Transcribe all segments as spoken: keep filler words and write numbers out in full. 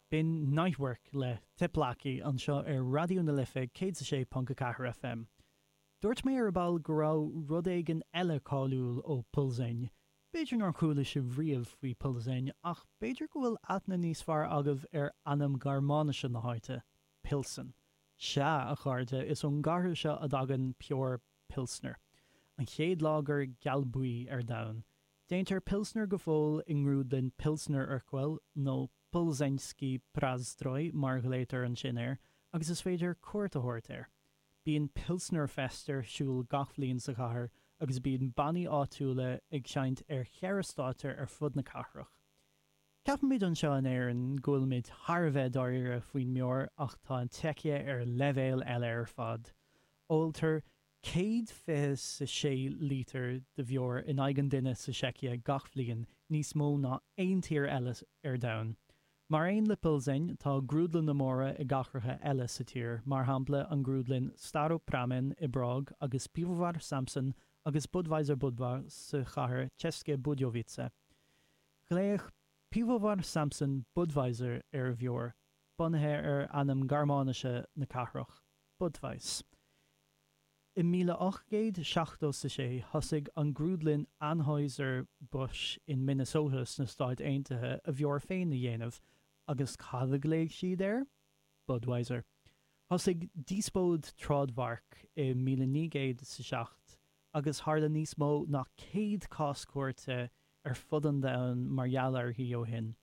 B'in Nightwork le Tepláky anseo ar Raidió na Life céad a sé ponc a ceathair FM. Dúirt mé ar ball go raibh rud éigin eile cáiliúil ó Plzeň. B'fhéidir nár chuala sibh riamh faoi Plzeň ach b'fhéidir go bhfuil aithne níos fearr agaibh ar ainm Gearmáinise na háite, Pilsen. Sea, a chairde, is ón gcathair seo a dtagann beoir Pilsner. An chéad lager gealbhuí ar domhan. Déantar Pilsner go fóill i ngrúdlann Pilsner Urquell nó Plzeňský Prazdroj mar a ghlaotar ansin air, agus is féidir cuairt a thabhairt air. Bíonn Pilsner Fest ar siúl gach bliain sa chathair agus bíonn bannaí áitiúla ag seinnt ar cheithre stáitse ar fud na cathrach. Ceapaimid anseo in Éirinn go bhfuilimid thar a bheith dáiríre faoin mbeoir ach tá an tSeicia ar leibhéal eile ar fad. Óltar céad fiche is a sé lítear de bheoir in aghaidh an duine sa tSeicia gach bliain, níos mó ná aon tír eile ar domhan. Mar aon le Plzeň, tá grúdlanna móra i gcathracha eile sa tír, mar shampla an grúdlann Staropramen i bPrág agus Pivovar Samson agus Budweiser Budvar sa chathair České Budějovice. Ghlaoigh Pivovar Samson Budweiser ar a bheoir, bunaithe ar ainm Gearmáinise na cathrach, Budweis. I míle ocht gcéad seachtó is a sé thosaigh an grúdlann Anheuser-Busch in Minnesota sna Stáit Aontaithe a bheoir féin a dhéanamh agus cad a ghlaoigh siad air? Budweiser. Thosaigh díospóid trádmhairc i míle naoi gcéad is a seacht agus tharla níos mó ná céad cás cúirte ar fud an domhain mar gheall uirthi ó shin.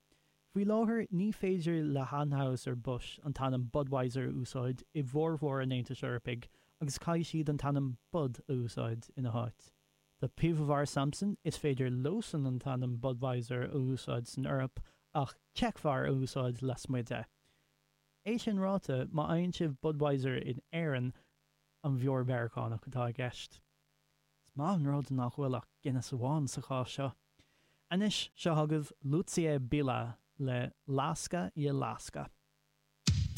Faoi láthair, ní féidir le hAnheuser-Busch an t-ainm Budweiser a úsáid i bhformhór an Aontais Eorpaigh agus caithfidh siad an t-ainm Bud a úsáid ina háit. Do Pivovar Samson, is féidir leosan an t-ainm Budweiser a úsáid san Eoraip ach Czechvar a úsáid lasmuigh de. É sin ráite, má fhaigheann sibh Budweiser in Éirinn, an bheoir Mheiriceánach atá i gceist. Is maith an rud nach bhfuil ach Guinness amháin sa chás seo. Anois, seo chugaibh Lucie Bílá le Láska je láska.